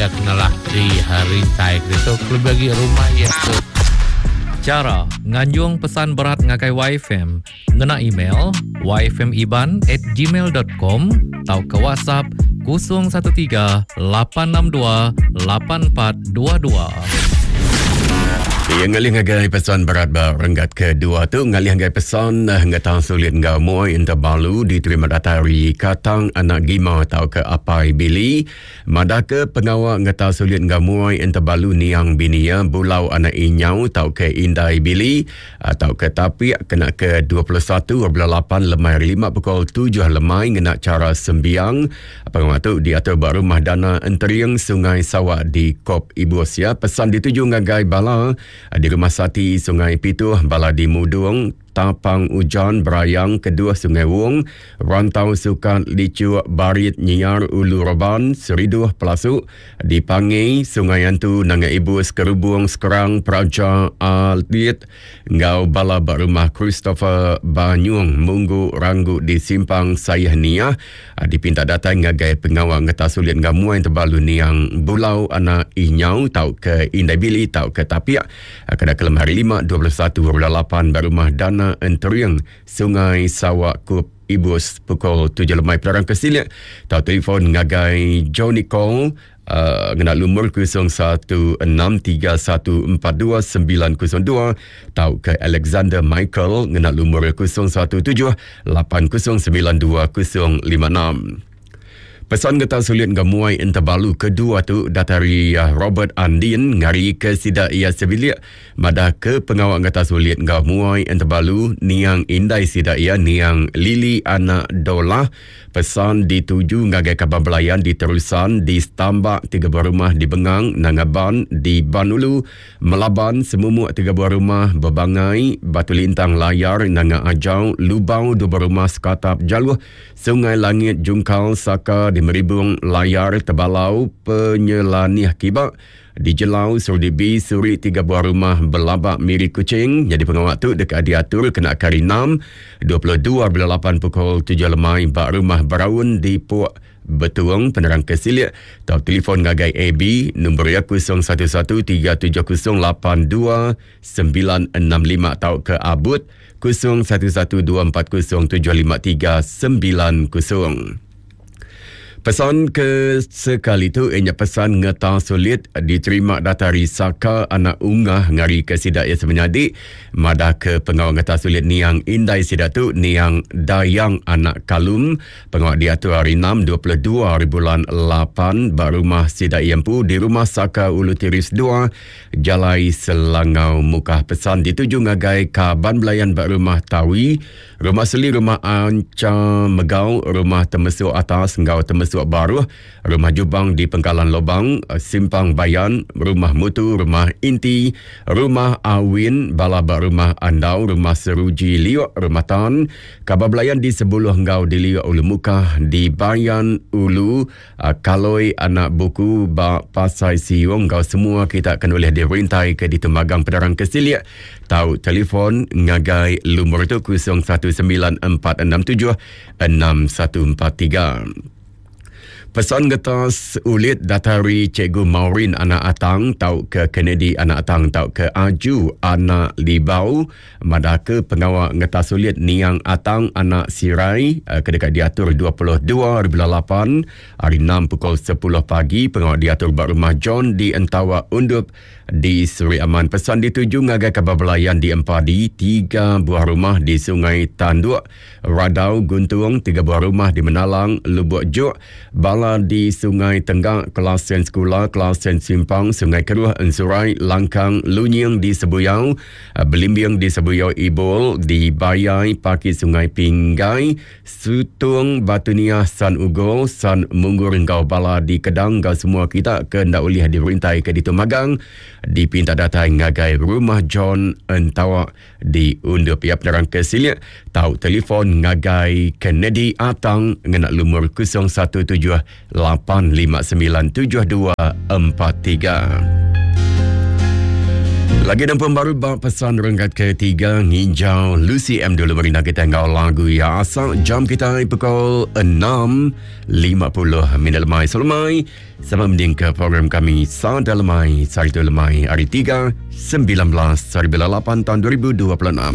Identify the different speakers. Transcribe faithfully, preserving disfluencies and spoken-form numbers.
Speaker 1: iya kenalah di rintai itu lebih lagi rumah iya tu.
Speaker 2: Cara nganjung pesan berat ngagai Y F M ngena email y f m iban at gmail dot com atau ke WhatsApp kosong satu tiga lapan enam dua lapan empat dua dua.
Speaker 3: Yang ngalih ngagai pesan berat ba renggat kedua tu ngalih ngagai pesan ngetang sulit ngau muai interbalu diterima datari Katang Anak Gima atau ke Apai Billy madaka pengawa ngetang sulit ngau muai interbalu niang binia Bulau Anak Inyau atau ke Indai Billy atau ke Tapiak kena ke dua puluh satu bulan lapan lemai lima pukul tujuh lemai ngena cara sembiang. Pengawa tu diatur ba rumah dana Enteriang Sungai Sawak di Kop Ibus ya. Pesan dituju ngagai bala di Rumah Sati Sungai Pituh, bala di Mudung, Tapang Ujan, Berayang, Kedua Sungai Wong, Rantau Sukan, Licuk, Barit, Nyiar, Ulu Roban, Seriduh, Pelasuk, di Pangi, Sungai Antu, Nanga Ibus, Kerubung, Sekerang, Praja, Alit, Ngau bala ba rumah Christopher Banyung, Munggu, Ranggu di Simpang Sayah Niah, dipinta datang ngagai pengawal ngetas sulit ngamuai terbalu niang Bulau Anak Inyau, tau ke Indai Bili, tau ke Tapiak, kena kelem hari lima, dua puluh satu bulan lapan, ba rumah Dana Enteriang Sungai Sawak Kup Ibus pukul tujuh lemai penerang kesilik atau telefon ngagai Johnny Cole uh, ngena lumur kosong satu enam tiga satu empat dua sembilan kosong dua atau ke Alexander Michael ngena lumur kosong satu tujuh lapan kosong sembilan dua kosong lima enam. Pesan getah sulit gemuai interbalu kedua tu datari Robert Andin ngari ke sida ia sebilik madah ke pengawal getah sulit gemuai interbalu niang indai sida ia niang Lili Anak Dolah. Pesan dituju ngagai kaban belayan di Terusan, di Stambak tiga buah rumah di Bengang, Nangaban, di Banulu, Melaban semumuk tiga buah rumah, Bebangai, Batu Lintang Layar, Nanga Ajau, Lubau dua buah rumah, Sekatap Jaluh, Sungai Langit, Jungkal, Saka di Meribung, Layar, Tebalau, Penyelanih Kibak, di Jelau, Surdibi, Suri, tiga buah rumah, Belabak, Miri Kucing. Jadi pengawal tu dekat diatur kena kari enam, dua puluh dua bulan lapan pukul tujuh lemai, bak rumah Beraun di Puak Betuang. Penerang kesilik atau telefon ngagai A B nombor ya kosong satu satu tiga tujuh kosong lapan dua sembilan enam lima atau ke Abut kosong satu satu dua empat kosong tujuh lima tiga sembilan kosong. Pesan ke sekali tu ianya pesan ngetang sulit diterima datari Saka Anak Ungah ngari ke sidak ia semenyadik madah ke pengawal ngetang sulit niang indai sidak tu niang Dayang Anak Kalum. Pengawal diatur hari enam dua puluh dua hari bulan lapan ba rumah sidak ia empu di rumah Saka Ulu Tiris dua Jalai Selangau Mukah. Pesan dituju ngagai kaban belayan ba rumah Tawi, rumah Seli, rumah Anca Megau, rumah Temesuk Atas ngau Temesuk Baruh, rumah Jubang di Pengkalan Lobang, Simpang Bayan, rumah Mutu, rumah Inti, rumah Awin, Balaba, rumah Andau, rumah Seruji Liok, rumah Tan, kabar belayan di Sebuluh Ngau di Liok Ulu Mukah, di Bayan Ulu, Kaloi Anak Buku, Ba Pasai Siung, ngau semua kita akan boleh dirintai ke di Temagang Pedarang Kesilik. Tahu telefon ngagai lumur tu kosong satu sembilan empat enam tujuh enam satu empat tiga. Pesan getas ulit datari Cikgu Maureen Anak Atang tau ke Kennedy Anak Atang tau ke Aju Anak Libau madah ke pengawal ngetas ulit niang Atang Anak Sirai kedekat diatur dua puluh dua bulan lapan hari enam pukul sepuluh pagi. Pengawal diatur ba rumah John di Entawa Undup di Seri Aman. Pesan dituju ngagai kabar belayan di Empadi, tiga buah rumah di Sungai Tanduk, Radau Guntung, tiga buah rumah di Menalang, Lubuk Juk, Bala di Sungai Tenggak, Kelasen Sekula, Kelasen Simpang, Sungai Keruh, Ensurai, Langkang, Lunying di Sebuyau, Belimbing di Sebuyau Ibol, di Bayai, Paki Sungai Pinggai, Sutung, Batu Niah, San Ugol, San Munggur, Engkau Bala di Kedang, Engkau semua kita ke ndak boleh dirintai ke di Temagang, dipinta datang ngagai rumah John Entawa di Undup. Ya, penerang kesilik tahu telefon ngagai Kennedy Atang ngena lumur kosong satu tujuh lapan lima sembilan tujuh dua empat tiga. Lagi dan pembaru bab pesan renggat ketiga nginjau Lucy M dulu merina kita ngau lagu ya asal jam kita pukul enam lima puluh minit lemai selemai sama mending ke program kami Sada Lemai Sari Tu Lemai hari tiga sembilan belas hari bulan lapan tahun dua ribu dua puluh enam.